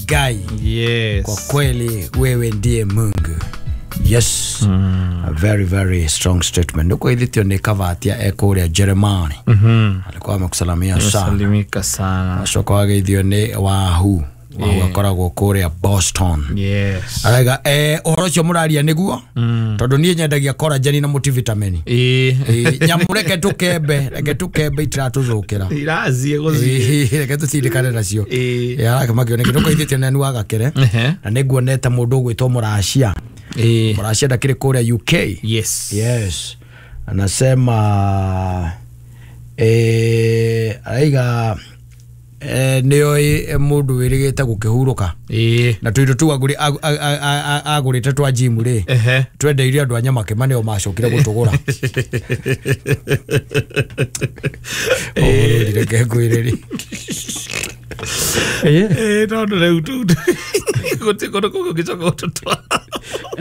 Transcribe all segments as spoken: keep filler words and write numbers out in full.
Ngai. Yes. Kwa kweli wewe ndiye Mungu. Yes. Mm. A very very strong statement. Nuko ithitio ni kavatia ekuria Jeremani. Mhm. Alikuwa amekusalamia sana. Salimika sana. Acoka wageithio ni Wahu. Wahu Yeah. akoragwo kuria Boston. Yes. Araiga eh uhoro ucio muraria niguo Mm. tondu nie nyendagia collagen na multivitamin. Eh. Eh, nyamu reke tukembe, reke tukembe itiratũthũkĩra. Irazie guthie. Eh, reke tũtindĩkane nacio. Eh. Arakĩmakio nĩkĩ nĩkũithĩtio nenu wa Gakere Ehe. na nĩnguonete mũndũ ũgwĩtwo Mũracia. Eh. Mũracia ndakĩrĩ kũrĩa U K. Yes. Yes. Anasema eh araiga eh nĩoĩ mũndũ wĩrĩgĩte gũkĩhurũka Eh. na tũindo tu agũrĩ agũrĩte twa gym rĩ Ehe. twendeirie andũ a Nyamakĩma nĩo macokire gũtũgũra. Ũhoro reke ngwĩrĩrie. Eh, tondu rĩu tu gũtirĩ kũndũ kũngĩ ũngĩcoka gũtũtwara.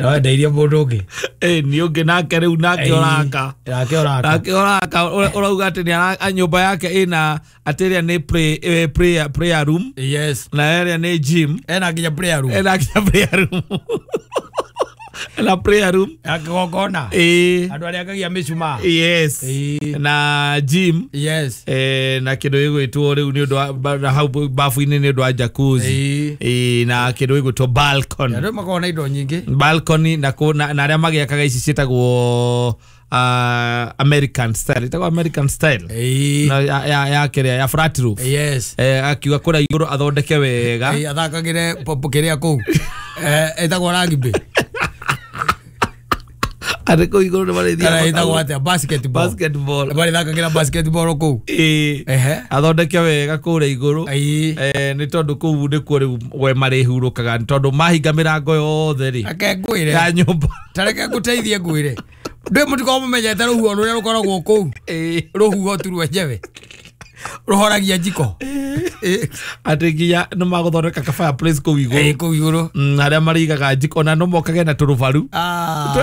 Wendeirie mũndũ ũngĩ. Eh, nĩ ũngĩ nake rĩu nake ũraka. Nake ũraka. Nake ũraka ũrauga atĩ nĩ nyũmba yake ĩna atĩ ĩrĩa nĩ pray, eh, prayer, prayer room. Yes. Na ĩrĩa nĩ gym. Ena nginya prayer room. Ena nginya prayer room. Ena prayer room. Ya kĩgongona. Eh. Andũ arĩa akagia mĩcumaa. Yes. Ĩĩ. Na gym. Yes. Eh, na kĩndũ gĩgwĩtwo rĩu nĩ ũndũ wa na hau bafu-inĩ nĩ ũndũ wa jacuzzi. Ĩĩ. Eh, na kĩndũ gĩgwĩtwo balcony. Andũ makoragwo na indo nyingĩ. Balcony na kũ na na arĩa magĩakaga ici ciĩtagwo uh, American style. Ĩtagwo American style. Ĩĩ. Na ya ya ya kĩrĩa ya flat roof. Yes. Eh, akiuga kũrĩa igũrũ athondeke wega. Ĩĩ, athakagĩre pop kĩrĩa kũu. Eh, ĩtagwo rugby. Arĩ kũu igũrũ nĩ marĩthiaga Kana ĩtagwo atĩa? Basketball. Basketball. Marĩthakagĩra basketball kũu. Ĩĩ. Ehe. Athondeke wega kũrĩa igũrũ. Ĩĩ. Eh, nĩ tondũ kũu nĩkuo rĩu we marĩhurũkaga nĩ tondũ mahinga mĩrango yothe rĩ. Reke ngwĩre. Ya nyũmba. Ta reke ngũteithie ngwĩre. Ndũĩ mũtikoragwo mũmenyete rũhuho rũrĩa rũkoragwo kũu. Ĩĩ. Rũhuho tu rwenyewe. Rũhoragia njiko. Ĩĩ. Atĩ nginya nĩ magũthondeka ka fireplace kũu igũrũ. Ĩĩ, kũu igũrũ. Mm, arĩa marĩigaga njiko ona no mokage na tũrũbaru. Ah.